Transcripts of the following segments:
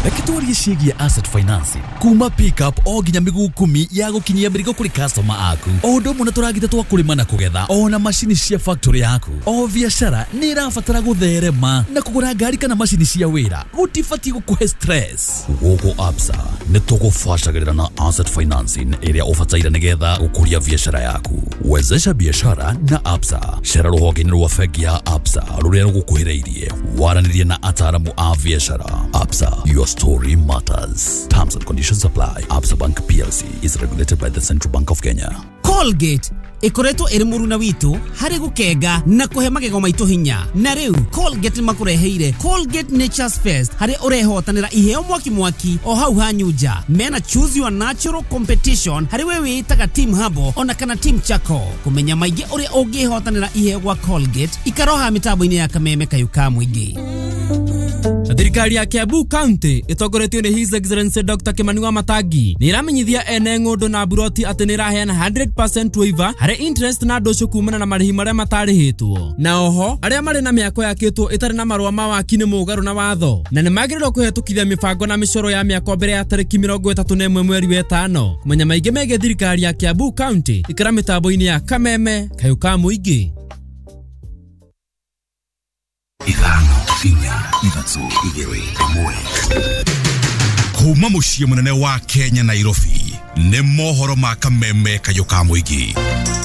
Reke twarie ciĩgiĩ asset financing kuma pickup o nginya mĩguu 10 ya gũkinyia mĩrigo kũrĩ customer aku, o ũndũ ũmwe na tũragita twa kũrĩma na kũgetha, ona macini cia factory yaku. O biacara nĩ ĩrabatara gũtherema, na kũgũra ngari kana macini cia wĩra gũtibatiĩ gũkũhe stress. Gũkũ Absa nĩ tũgũbacagĩrĩra na asset financing ĩrĩa ũbataire nĩgetha gũkũria biacara yaku. Wezesha biashara na Absa. Cera rũhonge-inĩ rwa bengi ya Absa rũrĩa rũgũkuhĩrĩirie, waranĩrie na ataaramu a biacara. Absa, your story matters. Terms and conditions apply. Absa Bank PLC is regulated by the Central Bank of Kenya. Colgate ikoretwo ĩrĩ mũruna witũ harĩ gũkenga na kũhe magego maitũ hinya. Na rĩu Colgate nĩmakũreheire Colgate Nature's Fest, harĩa ũrehotanĩra iheo mwaki mwaki o hau hanyu nja. Mena Choose Your Natural Competition harĩ we wĩĩtaga Team Habo ona kana Team Chaco. Kũmenya maingĩ ũrĩa ũngĩhotanĩra iheo gwa Colgate, ikaroha mĩtambo-inĩ ya Kameme Kayũ ka Mũingĩ. Thirikari ya Kiambu County ĩtongoretio nĩ His Excellency Dr. Kimani Wamatangi nĩ ĩramenyithia ene ng'ũndũ na mburoti atĩ nĩ ĩraheana 100% waiver harĩ interest na ndũcũ kumana na marĩhi marĩa matarĩhĩtwo. Na oho arĩa marĩ na mĩako yakĩtwo ĩtarĩ na marũa ma waki nĩ mũgarũ na watho, na nĩ magĩrĩirwo kũhetũkithia mĩbango na mĩcoro ya mĩako mbere ya tarĩki 31 mweri wa 5. Kũmenya maingĩ megiĩ thirikari ya Kiambu County, ikara mĩtambo-inĩ ya Kameme Kayũ ka Mũingĩ. 5 4 3 2 1. Kuma mũciĩ mũnene wa Kenya Nairobi, nĩ mohoro ma Kameme Kayũ ka Mũingĩ.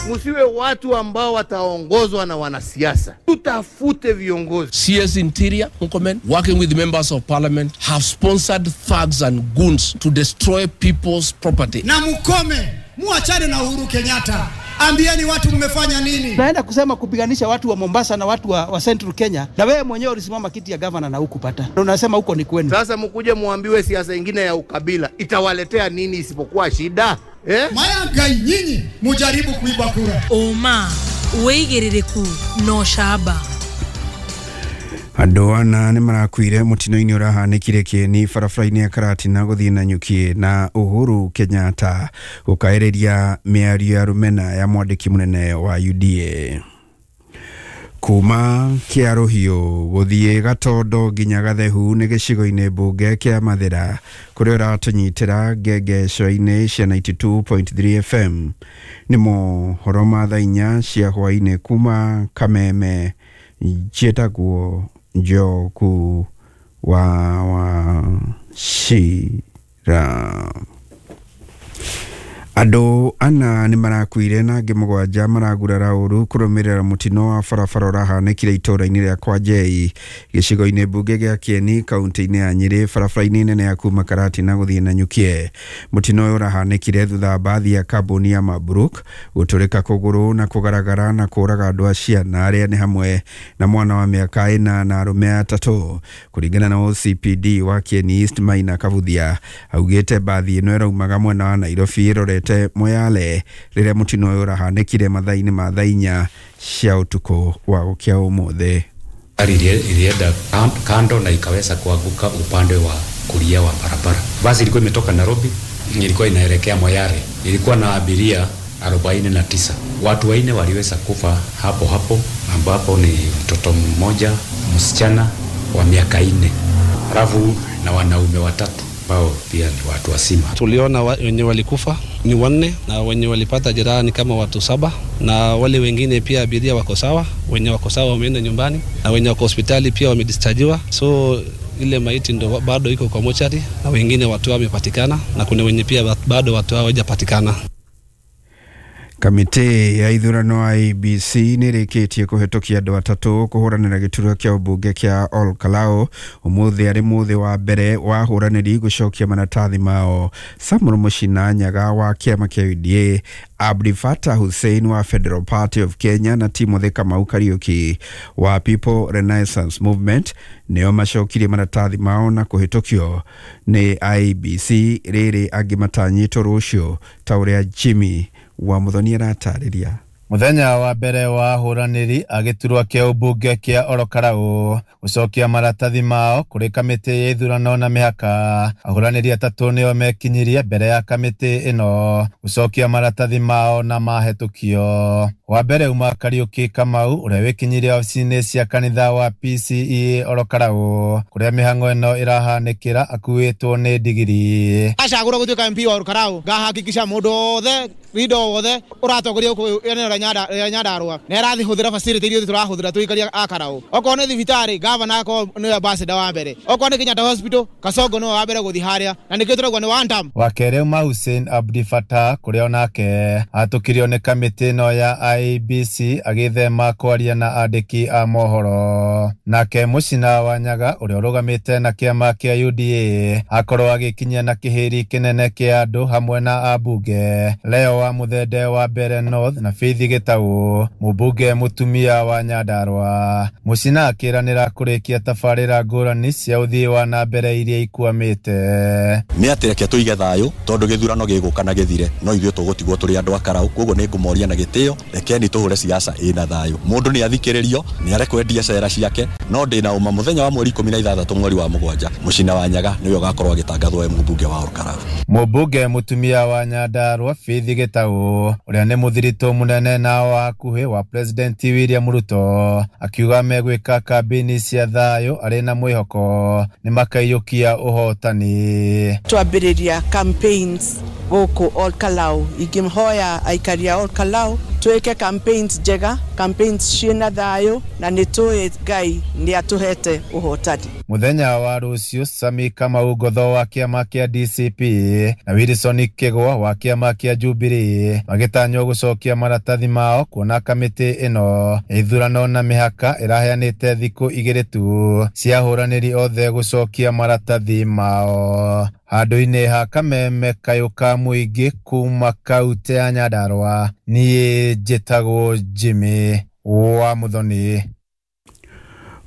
Musiwe watu ambao wataongozwa na wanasiasa. Tutafute viongozi. CS Interior Murkomen, working with members of parliament, have sponsored thugs and goons to destroy people's property. Na mukome, muachane na Uhuru Kenyatta. Ambieni watu mmefanya nini? Naenda kusema kupiganisha watu wa Mombasa na watu wa Central Kenya, na wewe mwenyewe ulisimama kiti ya governor na hukupata. Unasema huko ni kwenu. Sasa mkuje muambiwe siasa nyingine ya ukabila itawaletea nini isipokuwa shida? Maya nyinyi mujaribu kuiba kura. Oma wĩigĩrĩrĩku no shaba. Andũ ana nĩ marakuire mũtino-inĩ ũrahanĩkire Kĩeni barabara-inĩ ya Karatina gũthiĩ Nanyuki, na Uhuru Kenyatta gũkaĩrĩria mĩario ya rũmena ya mwandĩki mũnene wa UDA. Kuma Kĩarũhiũ gũthiĩ Gatondo nginya Gathehu nĩ gĩcigo-inĩ mbunge kĩa Mathĩra, kũrĩa ũratũnyitĩra ngengeco-inĩ cia 92.3 FM. Nĩ mohoro ma thaa 4 cia hwaĩ-inĩ kuma Kameme. Njĩtagwo Njoku wa Wachira. Andũ ana nĩ marakuire na angĩ 7 maragurara ũru kũrũmĩrĩra mũtino wa barabara ũrahanĩkire itũũra-inĩ rĩa Kwanjei gĩcigo-inĩ mbunge gĩa Kĩeni kaunti-inĩ ya Nyĩrĩ barabara-inĩ nene ya kuma Karatina gũthiĩ Nanyuki. Mũtino ũyũ ũrahanĩkire thutha wa mbathi ya kambuni ya Mabruk gũtũrĩka kũgũrũ na kũgaragara na kũraga andũ a ciana arĩa nĩ hamwe na mwana wa mĩaka 4 na arũme 3. Kũringana na OCPD wa Kĩeni East Maina Kabuthia, augĩte mbathi ĩno ĩraumaga mwena wa Nairobi ĩrorete Moyale rĩrĩa mũtino ũyũ ũrahanĩkire mathaa-inĩ ma thaa 4 cia ũtukũ wa gũkĩa ũmũthĩ. Gari ilienda kando na ikaweza kuanguka upande wa kulia wa barabara. Basi ilikuwa imetoka Nairobi, ilikuwa inaelekea Moyale. Ilikuwa na abiria 49. Watu 4 waliweza kufa hapo hapo, ambapo ni mtoto mmoja msichana wa miaka 4, halafu na wanaume 3 ambao pia ni watu wazima. Tuliona wenye walikufa ni 4 na wenye walipata jeraha ni kama watu 7, na wale wengine pia abiria wako sawa, wenye wako sawa wameenda nyumbani na wenye wako hospitali pia wamedischargiwa. So ile maiti ndo bado iko kwa mochari na wengine watu wamepatikana na kuna wenye pia bado watu hawajapatikana. Kamĩtĩ ya ithurano IEBC nĩ ĩrĩkĩtie kũhetũkia andũ 3 kũhũranĩra gĩturwa kĩa ũmbunge kĩa Ol Kalou ũmũthĩ arĩ mũthĩ wa mbere wa ahũranĩri gũcokia maratathi mao. Samuel Mũcina Nyaga wa kĩama kĩa UDA, Abdi Fatah Hussein wa Federal Party of Kenya na Timothy Kamau Kariuki wa People Renaissance Movement nĩo macokirie maratathi mao na kũhetũkio nĩ IEBC, rĩrĩ angĩ matanyĩtwo rũciũ ta ũrĩa Jimmy wa Muthoni aratarĩria. Muthenya wa mbere wa ahũranĩri a gĩturwa kĩa ũmbunge kĩa Orokarau gũcokia maratathi mao kũrĩ kamĩtĩ ya ithurano na mĩhaka. Ahũranĩri atatũ nĩo mekinyirie mbere ya kamĩtĩ ĩno gũcokia maratathi mao na mahĩtũkio. Wa mbere uma Kariũki Kamau ũrĩa wĩkinyirie wabici-inĩ cia kanitha wa PCEA Orokarau kũrĩa mĩhang'o ĩno ĩrahanĩkĩra akuĩtwo nĩ ndigiri. Acagũrwo gũtuĩka MP wa Orokarau ngahakikisha mũndũ wothe rindo wothe ũratongoria gũkũ eneo rĩa Nyandarua nĩ arathihũthĩra facility iria tũrahũthĩra tũikaria a Karau. Okorwo nĩ thibitarĩ gavana akorwo nĩwe ambassador wa mbere, okorwo nĩ Kenyatta Hospital Kasongo nĩwe wa mbere gũthiĩ harĩa, na nĩkĩo tũrauga nĩ one term. Wa kerĩ uma Hussein Abdi Fatah kũrĩa onake atũkirio nĩ kamĩtĩ ĩno ya IEBC agĩthema kwaria na andĩki a mohoro. Nake Mũcina wa Nyaga ũrĩa ũrũgamĩte na kĩama kĩa UDA akorwo agĩkinyia na kĩhĩri kĩnene kĩa andũ hamwe na ambunge Leo wa Muthende wa Mbere North na Faith Gĩtaũ mũmbunge mũtumia wa Nyandarua. Mũcina akĩranĩra kũrĩkia tabarĩra ngũrani cia ũthii wa na mbere iria ikwamĩte. Nĩ atĩ reke tũige thayũ tondũ gĩthurano gĩgũka na gĩthire no ithuĩ tũgũtigwo tũrĩ andũ a Karau, koguo nĩ ngũmoria na gĩtĩo rekeni tũhũre siasa ĩna thayũ. Mũndũ nĩ athikĩrĩrio nĩ arekwendia cera ciake, no ndĩna ũma mũthenya wa mweri 16 mweri wa 7 Mũcina wa Nyaga nĩwe ũgakorwo agĩtangathwo e mũmbunge wa Ol Kalou. Mũmbunge mũtumia wa Nyandarua Faith Gĩtaũ ũrĩa nĩ mũthiritũ mũnene na wa hakuhĩ wa President William Ruto akiuga megwĩka kambĩini cia thayũ arĩ na mwĩhoko nĩ makaiyũkia ũhotani. Twambĩrĩria campaigns gũkũ Ol Kalou, ingĩhoya aikari a Ol Kalou twĩke campaigns njega, campaigns ciĩna thayũ, na nĩ tũĩ Ngai nĩ atũhete ũhotani. Mũthenya wa rũciũ Sami Kamau Ngotho wa kĩama kĩa DCP na Wilson Kĩgwa wa kĩama kĩa Jubilee magĩtanywo gũcokia maratathi mao kuona kamĩtĩ ĩno ya ithurano na mĩhaka ĩraheanĩte thikũ 2 tu cia ahũranĩri othe gũcokia maratathi mao. Handũ-inĩ ha kameme kayũ ka mũingĩ kuma kaunti ya Nyandarua, niĩ njĩtagwo Jimmy wa Muthoni.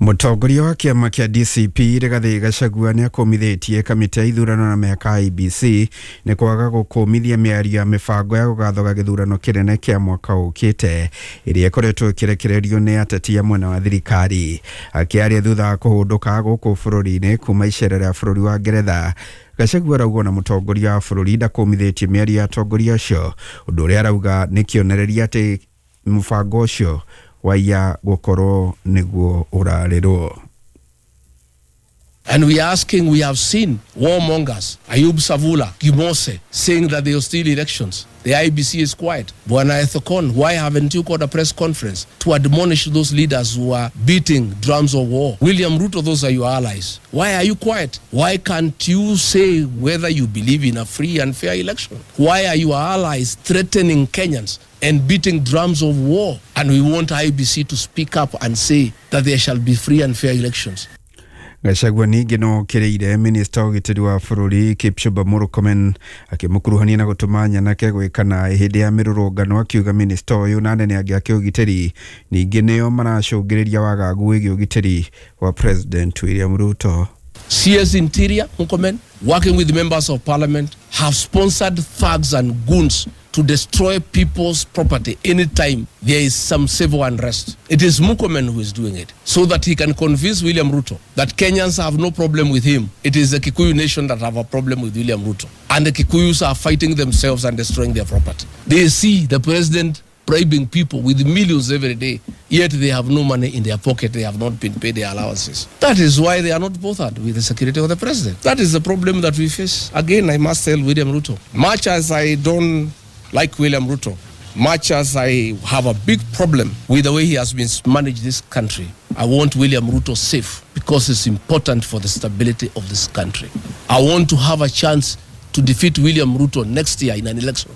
Mũtongoria wa kĩama kĩa DCP Rigathĩ Gachagua nĩ akũmithĩtie kamĩtĩ ya ithurano na mĩhaka IEBC nĩ kwaga gũkũmithia mĩario ya mĩbango ya gũgathoga gĩthurano kĩnene kĩa mwaka ũkĩte ĩrĩa ĩkoretwo ĩkĩrekererio nĩ ateti a mwena wa thirikari. Akĩaria thutha wa kũhũndũka gũkũ bũrũri-inĩ kuma icera rĩa bũrũri wa Ngeretha, Gachagua arauga ona mũtongoria wa bũrũri ndakũmithĩtie mĩario ya atongoria acio, ũndũ ũrĩa arauga nĩ kĩonereria atĩ mũbango ũcio waiya gũkorwo nĩguo ũrarĩrwo. And we are asking, we have seen warmongers, Ayub Savula, Gimose, saying that they will steal elections. The IEBC is quiet. Bwana Ethekon, why haven't you called a press conference to admonish those leaders who are beating drums of war? William Ruto, those are your allies. Why are you quiet? Why can't you say whether you believe in a free and fair election? Why are your allies threatening Kenyans and beating drums of war? And we want IEBC to speak up and say that there shall be free and fair elections. Gachagua ningĩ no okĩrĩire minista wa ũgitĩri wa bũrũri Kipchumba Murkomen akĩmũkuruhania na gũtũma nyanake gwĩka naĩ hĩndĩ ya mĩrũrũngano, akiuga minista ũyũ na anene angĩ a kĩũgitĩri ningĩ nĩo maracũngĩrĩria wagagu wĩgiĩ ũgitĩri wa President William Ruto. CS Interior Murkomen, working with members of parliament, have sponsored thugs and goons to destroy people's property anytime there is some civil unrest. It is Murkomen who is doing it, so that he can convince William Ruto that Kenyans have no problem with him. It is the Kikuyu nation that have a problem with William Ruto. And the Kikuyus are fighting themselves and destroying their property. They see the president bribing people with millions every day, yet they have no money in their pocket. They have not been paid their allowances. That is why they are not bothered with the security of the president. That is the problem that we face. Again, I must tell William Ruto, much as I don't like William Ruto, much as I have a big problem with the way he has been managed this country, I want William Ruto safe because it's important for the stability of this country. I want to have a chance to defeat William Ruto next year in an election.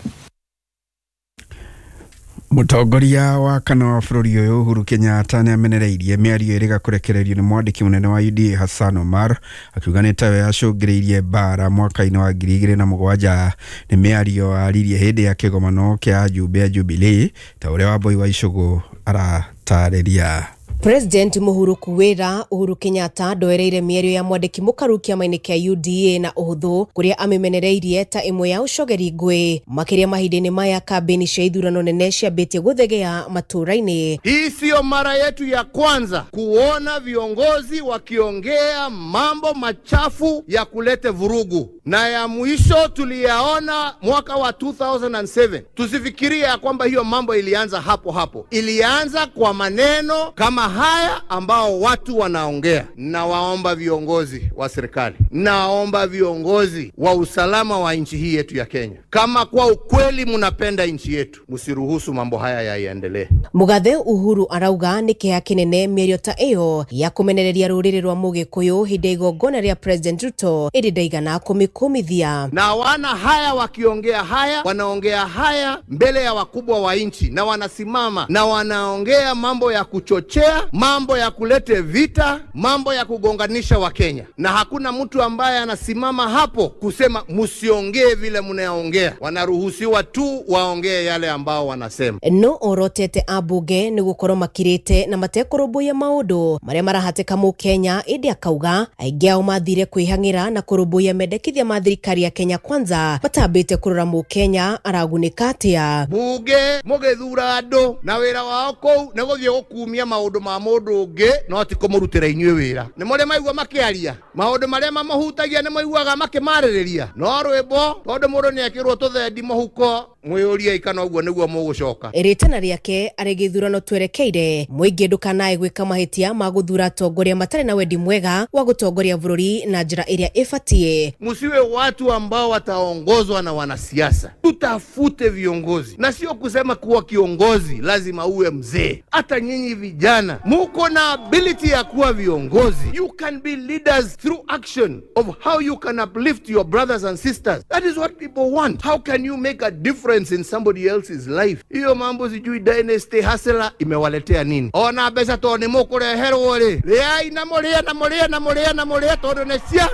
Mũtongoria wa kana wa bũrũri ũyũ Uhuru Kenyatta nĩ amenereirie mĩario ĩrĩa kũrekererio nĩ mwandĩki mũnene wa UDA Hassan Omar akiuga nĩ tawe yacũngĩrĩirie mbara mwaka-inĩ wa 2007. Nĩ mĩario aririe hĩndĩ ya kĩgomano kĩa ajumbe a Jubilee ta ũrĩa Wambui wa Icũgũ aratarĩria. President Muhuruku wira Uhuru Kenyatta ndoereire mĩario ya mwandĩki mũkaru kĩama-inĩ kĩa UDA na ũhũthũ kũrĩa amĩmenereirie ta ĩmwe ya ũcogeri ngũĩ makĩria mahinda-inĩ maya kambĩni cia ithurano nene ciambĩtie gũthegea matũũra-inĩ. Hii siyo mara yetu ya kwanza kuona viongozi wakiongea mambo machafu ya kulete vurugu, na ya mwisho tuliyaona mwaka wa 2007. Tusifikirie ya kwamba hiyo mambo ilianza hapo hapo, ilianza kwa maneno kama haya ambao watu wanaongea. Na waomba viongozi wa serikali, naomba viongozi wa usalama wa nchi hii yetu ya Kenya, kama kwa ukweli mnapenda nchi yetu, msiruhusu mambo haya yaendelee. Mugathe Uhuru arauga nĩ kĩeha kĩnene mĩario ta ĩyo ya kũmenereria rũrĩrĩ rwa Mũgĩkũyũ hĩndĩ ya igongona rĩa President Ruto ĩndĩ ndaigana kũmĩkũmithia. Na wana haya wakiongea haya, wanaongea haya mbele ya wakubwa wa nchi, na wanasimama na wanaongea mambo ya kuchochea, mambo ya kulete vita, mambo ya kugonganisha wa Kenya, na hakuna mtu ambaye anasimama hapo kusema msiongee vile mnaongea. Wanaruhusiwa tu waongee yale ambao wanasema. No orotete abunge nĩ gũkorwo makirĩte na matekũrũmbũiya maũndũ marĩa marahatĩka Mũkenya, ĩndĩ akauga aingĩ ao mathire kwĩhang'ĩra na kũrũmbũiya mendekithia ma thirikari ya Kenya Kwanza matambĩte kũrora Mũkenya aragunĩka atĩa. Bunge mũgĩthura andũ na wĩra wao kũu nĩ gũthiĩ gũkumia maũndũ ma mũndũ ũngĩ, no ti kũmũrutĩra inyuĩ wĩra. Nĩ mũrĩ maigua makĩaria maũndũ marĩa mamahutagia, nĩ maiguaga makĩmarĩrĩria, no rwĩmbo tondũ mũndũ nĩ ekĩrwo tũthendi mũhuko, mwĩyũrie kana ũguo nĩguo mũgũcoka. Rĩtana rĩake arĩ gĩthurano twerekeire mũingĩ ndũkanae gwĩka mahĩtia ma gũthura atongoria matarĩ na wendi mwega wa gũtongoria bũrũri na njĩra ĩrĩa ĩbatiĩ. Msiwe watu ambao wataongozwa na wanasiasa. Tutafute viongozi, na sio kusema kuwa kiongozi lazima uwe mzee. Hata nyinyi vijana muko na ability ya kuwa viongozi. You can be leaders through action of how you can uplift your brothers and sisters. That is what people want. How can you make a difference in somebody else's life? Hiyo mambo sijui dynasty hustler imewaletea nini? Ona mbeca to ni mukureherwo ri, riai na murie na murie na murie na murie tondu ni cia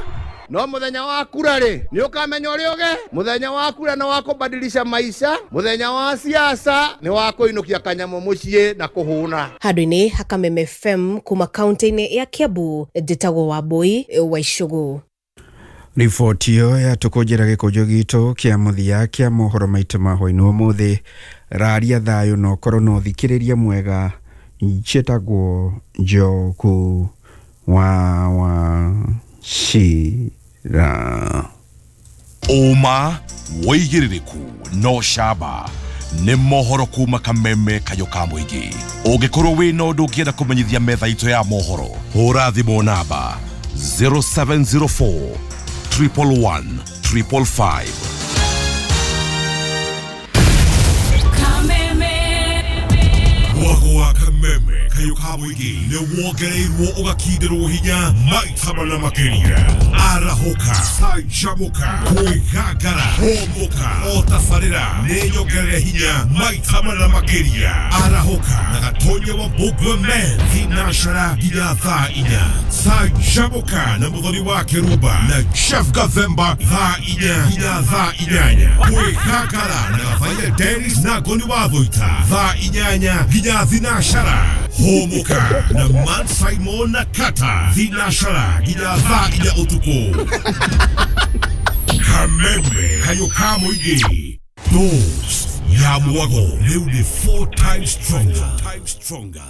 no muthenya wa kura ri ni ukamenya uria uge. Muthenya wa kura na wa kubadilisha maisha, muthenya wa siasa ni wa kuinukia kanyamu mucii na kuhuna. Handũ-inĩ ha Kameme FM kuma kaunti-inĩ ya Kiambu, njĩtagwo Wambui wa Icũgũ. Riboti ĩyo yatũkũnjĩra gĩkũnjo gitũ kĩa mũthia kĩa mohoro maitũ ma hwaĩ-inĩ ũmũthĩ. Raria thayũ na ũkorwo na ũthikĩrĩria mwega. Njĩtagwo Njogu wa Wachira. Ũma wĩigĩrĩrĩku no camba nĩ mohoro kuma Kameme kayũ ka mũingĩ. Ũngĩkorwo wĩna ũndũ ũngĩenda kũmenyithia metha itũ ya mohoro, hũra thimũ namba 0704 111 555. Mwago wa Kameme kayũ ka mũingĩ nĩ wongereirwo ũgakindĩrwo hinya maita mana makĩria. Arahũka, canjamũka, kwĩgangara, hũmũka, o tabarĩra nĩ nyongerere hinya maita mana makĩria. Arahũka na Gatonya wa Mbũgua Men thinashara nginya thaa 4. Canjamũka na Mũthoni wa Kĩrumba na Jeff Gathemba thaa 4 nginya thaa 8. Kwĩgangara na Gathaia Dennis na Ngoni wa Thũita thaa 8 nginya thinashara. Hũmũka na Man Simon na Kata thinashara nginya thaa 4 ũtukũ. Kameme kayũ ka mũingĩ, dose ya mwago rĩu nĩ 4 times stronger.